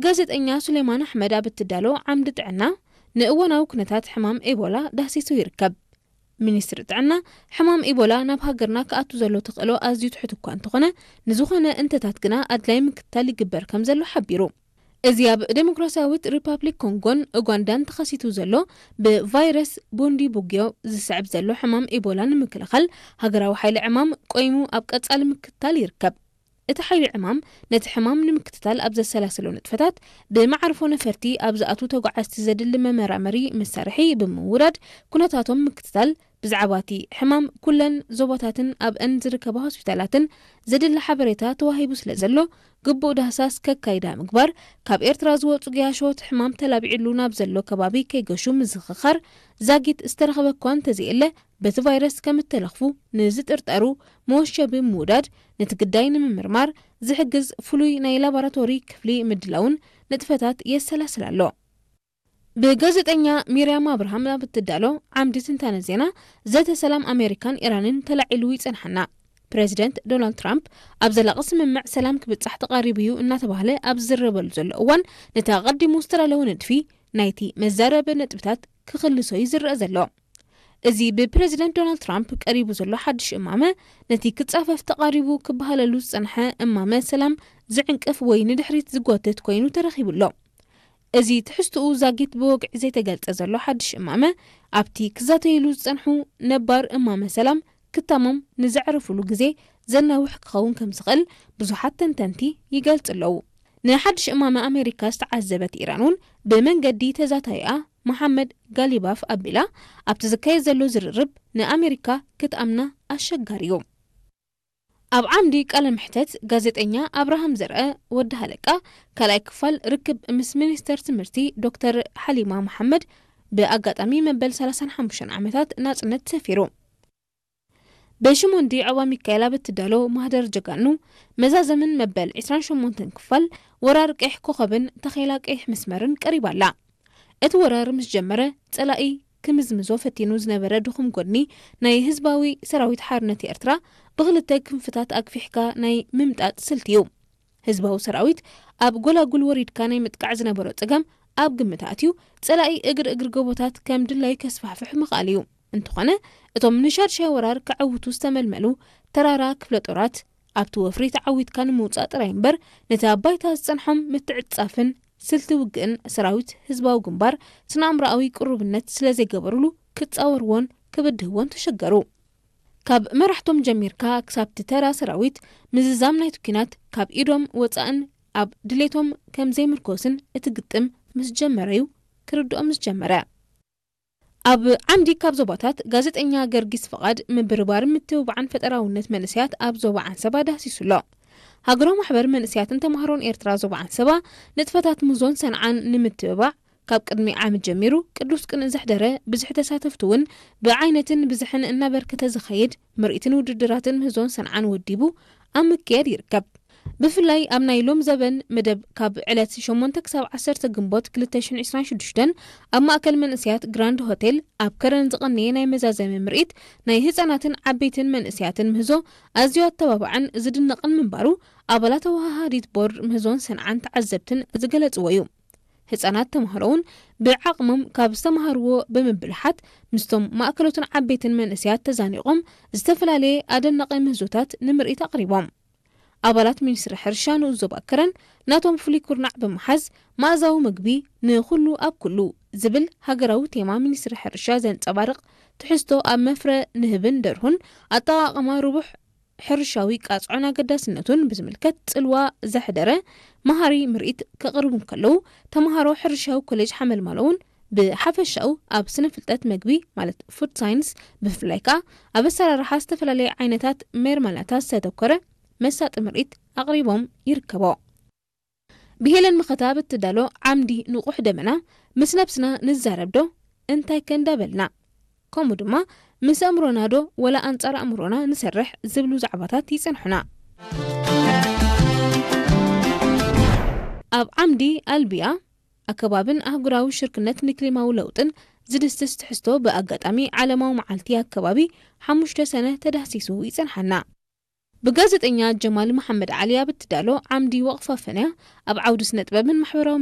ጋዜጠኛ ሱሌማን ኣሕመድ ኣብ እትዳሎ ዓምዲ ጥዕና፣ ንእዋናዊ ኩነታት ሕማም ኤቦላ ዳህሲሱ ይርከብ። ሚኒስትሪ ጥዕና፣ ሕማም ኤቦላ ናብ ሃገርና ክኣቱ ዘሎ ተኽእሎ ኣዝዩ ትሑት እኳ እንተኾነ፣ ንዝኾነ እንተታት ግና ኣድላይ ምክትታል ይግበር ከም ዘሎ ሓቢሩ። እዚ ኣብ ዴሞክራሲያዊት ሪፓብሊክ ኮንጎን ኡጋንዳን ተኸሲቱ ዘሎ ብቫይረስ ቡንዲ ቡግዮ ዝስዕብ ዘሎ ሕማም ኤቦላ ንምክልኻል፣ ሃገራዊ ሓይሊ ዕማም ቆይሙ ኣብ ቀጻሊ ምክትታል ይርከብ። እቲ ሓይሊ ዕማም ነቲ ሕማም ንምክትታል ኣብ ዘሰላሰሎ ንጥፈታት፣ ብመዓርፎ ነፈርቲ ኣብ ዝኣትዉ ተጓዓዝቲ ዘድሊ መመራመሪ መሳርሒ ብምውራድ ኩነታቶም ምክትታል፣ ብዛዕባ እቲ ሕማም ኩለን ዞባታትን ኣብአን ዝርከባ ሆስፒታላትን ዘድሊ ሓበሬታ ተዋሂቡ ስለ ዘሎ፣ ግቡእ ዳህሳስ ከካይዳ ምግባር፣ ካብ ኤርትራ ዝወጹ ገያሾ እቲ ሕማም ተላቢዕሉ ናብ ዘሎ ከባቢ ከይገሹ ምዝኽኻር፣ ዛጊት ዝተረኸበ እኳ እንተዘየለ፣ በቲ ቫይረስ ከም እተለኽፉ ንዝጥርጠሩ መወሸቢ ምውዳድ፣ ነቲ ግዳይ ንምምርማር ዝሕግዝ ፍሉይ ናይ ላቦራቶሪ ክፍሊ ምድላውን ንጥፈታት የሰላስል ኣሎ። ብጋዜጠኛ ሚርያም ኣብርሃም ኣብ እትዳሎ ዓምዲ ትንታነ ዜና፣ ዘተ ሰላም ኣሜሪካን ኢራንን ተላዒሉ ይጸንሓና። ፕረዚደንት ዶናልድ ትራምፕ ኣብ ዘላቒ ስምምዕ ሰላም ክብጻሕ ተቓሪቡ እዩ እናተባህለ ኣብ ዝዝረበሉ ዘሎ እዋን፣ ነቲ ኣቐዲሙ ዝተዳለወ ንድፊ ናይቲ መዛረቢ ነጥብታት ክኽልሶ እዩ ዝረአ ዘሎ። እዚ ብፕረዚደንት ዶናልድ ትራምፕ ቀሪቡ ዘሎ ሓድሽ እማመ፣ ነቲ ክጻፈፍ ተቓሪቡ ክበሃለሉ ዝጸንሐ እማመ ሰላም ዝዕንቅፍ ወይ ንድሕሪት ዝጎትት ኮይኑ ተረኺቡ ኣሎ። እዚ ትሕዝትኡ ዛጊት ብወግዒ ዘይተገልጸ ዘሎ ሓድሽ እማመ፣ ኣብቲ ክዛተይሉ ዝጸንሑ ነባር እማመ ሰላም ክታሞም ንዘዕርፍሉ ግዜ ዘናውሕ ክኸውን ከም ዝኽእል ብዙሓት ተንተንቲ ይገልጹ ኣለዉ። ንሓድሽ እማመ ኣሜሪካ ዝተዓዘበት ኢራን እውን ብመንገዲ ተዛታይኣ መሓመድ ጋሊባፍ ኣቢላ፣ ኣብቲ ዝካየድ ዘሎ ዝርርብ ንኣሜሪካ ክትኣምና ኣሸጋሪ እዩ። ኣብ ዓምዲ ቃለ መሕተት፣ ጋዜጠኛ ኣብርሃም ዘርአ፣ ወዲ ሃለቃ፣ ካልኣይ ክፋል ርክብ ምስ ሚኒስተር ትምህርቲ ዶክተር ሓሊማ መሓመድ፣ ብኣጋጣሚ መበል ሰላሳን ሓሙሽተን ዓመታት ናጽነት ሰፊሩ። ብሽሞንዲ ዖባ ሚካኤል ኣብ እትዳሎ ማህደር ጀጋኑ፣ መዛዘምን መበል ዕስራን ሸሞንተን ክፋል ወራር ቀይሕ ኮኸብን ተኼላ ቀይሕ መስመርን ቀሪባ ኣላ። እቲ ወራር ምስ ጀመረ፣ ጸላኢ ክምዝምዞ ፈቲኑ ዝነበረ ድኹም ጎድኒ ናይ ህዝባዊ ሰራዊት ሓርነት ኤርትራ፣ ብኽልተ ክንፍታት ኣግፊሕካ ናይ ምምጣጥ ስልቲ እዩ። ህዝባዊ ሰራዊት ኣብ ጎላጉል ወሪድካ ናይ ምጥቃዕ ዝነበሮ ጸገም ኣብ ግምት ኣትዩ፣ ጸላኢ እግሪ እግሪ ጎቦታት ከም ድላዩ ከስፋሕፍሕ ምኽኣል እዩ። እንተኾነ፣ እቶም ንሻድሻይ ወራር ከዐውቱ ዝተመልመሉ ተራራ ክፍለ ጦራት፣ ኣብቲ ወፍሪ ተዓዊትካ ንምውጻእ ጥራይ እምበር፣ ነቲ ኣብ ባይታ ዝጸንሖም ምትዕጻፍን ስልቲ ውግእን ሰራዊት ህዝባዊ ግንባር ስነ-ኣእምሮኣዊ ቅሩብነት ስለ ዘይገበሩሉ፣ ክጻወርዎን ክብድህዎን ተሸገሩ። ካብ መራሕቶም ጀሚርካ ክሳብቲ ተራ ሰራዊት ምዝዛም ናይቲ ኲናት ካብ ኢዶም ወጻእን ኣብ ድሌቶም ከም ዘይምርኮስን እቲ ግጥም ምስ ጀመረ'ዩ ክርድኦም ዝጀመረ። ኣብ ዓምዲ ካብ ዞባታት፣ ጋዜጠኛ ገርጊስ ፍቓድ፣ ምብርባርን ምትብባዕን ፈጠራውነት መንእሰያት ኣብ ዞባ ዓንሰባ ዳህሲሱ ኣሎ። ሃገራዊ ማሕበር መንእሰያትን ተማሃሮን ኤርትራ ዞባ ዓንሰባ፣ ንጥፈታት ምህዞን ሰንዓን ንምትብባዕ፣ ካብ ቅድሚ ዓመት ጀሚሩ ቅዱስ ቅንኢ ዘሕደረ፣ ብዝሒ ተሳተፍቲ እውን ብዓይነትን ብዝሕን እናበርከተ ዝኸይድ ምርኢትን ውድድራትን ምህዞን ሰንዓን ወዲቡ ኣብ ምክያድ ይርከብ። ብፍላይ ኣብ ናይ ሎም ዘበን መደብ፣ ካብ ዕለት ሸሞንተ ክሳብ ዓሰርተ ግንቦት ክልተ ሽሕን ዕስራን ሽዱሽተን፣ ኣብ ማእከል መንእሰያት ግራንድ ሆቴል ኣብ ከረን ዝቐነየ ናይ መዛዘሚ ምርኢት፣ ናይ ህጻናትን ዓበይትን መንእሰያትን ምህዞ ኣዝዩ ኣተባባዕን ዝድነቕን ምንባሩ፣ ኣባላት ኣወሃሃዲት ቦርድ ምህዞን ሰንዓን ተዓዘብትን ዝገለጽዎ እዩ። ህጻናት ተማሃሮ እውን ብዓቕሞም ካብ ዝተማሃርዎ ብምብልሓት፣ ምስቶም ማእከሎትን ዓበይትን መንእሰያት ተዛኒቖም፣ ዝተፈላለየ ኣደናቒ ምህዞታት ንምርኢት ኣቕሪቦም። ኣባላት ሚኒስትሪ ሕርሻ ንኡስ ዞባ ከረን፣ ናቶም ፍሉይ ኩርናዕ ብምሓዝ፣ መኣዛዊ ምግቢ ንኹሉ ኣብ ኩሉ ዝብል ሃገራዊ ቴማ ሚኒስትሪ ሕርሻ ዘንጸባርቕ ትሕዝቶ፣ ኣብ መፍረ ንህብን ደርሁን ኣጠቓቕማ ርቡሕ ሕርሻዊ ቃጽዖን ኣገዳስነቱን ብዝምልከት ጽልዋ ዘሕደረ መሃሪ ምርኢት ከቕርቡ እንከለዉ፣ ተምሃሮ ሕርሻዊ ኮሌጅ ሓመልማሎ እውን ብሓፈሻኡ ኣብ ስነ ፍልጠት መግቢ፣ ማለት ፉድ ሳይንስ፣ ብፍላይ ከኣ ኣብ ኣሰራርሓ ዝተፈላለየ ዓይነታት ሜርማላታት ዝተተኮረ መሳጢ ምርኢት ኣቕሪቦም ይርከቦ። ብሄለን መኸታ ብትዳሎ ዓምዲ ንቑሕ ደመና፣ ምስ ነብስና ንዛረብ ዶ እንታይ ከ እንዳበልና፣ ከምኡ ድማ ምስ ኣእምሮና ዶ ወላ ኣንጻር ኣእምሮና ንሰርሕ ዝብሉ ዛዕባታት ይጸንሑና። ኣብ ዓምዲ ኣልቢያ ኣከባብን ኣህጉራዊ ሽርክነት ንክሊማዊ ለውጥን ዝድስስ ትሕዝቶ ብኣጋጣሚ ዓለማዊ መዓልቲ ኣከባቢ ሓሙሽተ ሰነ ተዳህሲሱ ይጸንሓና። ብጋዜጠኛ ጀማል መሓመድ ዓሊ ኣብ እትዳሎ ዓምዲ ወቕፋ ፈንያ፣ ኣብ ዓውዲ ስነ ጥበብን ማሕበራዊ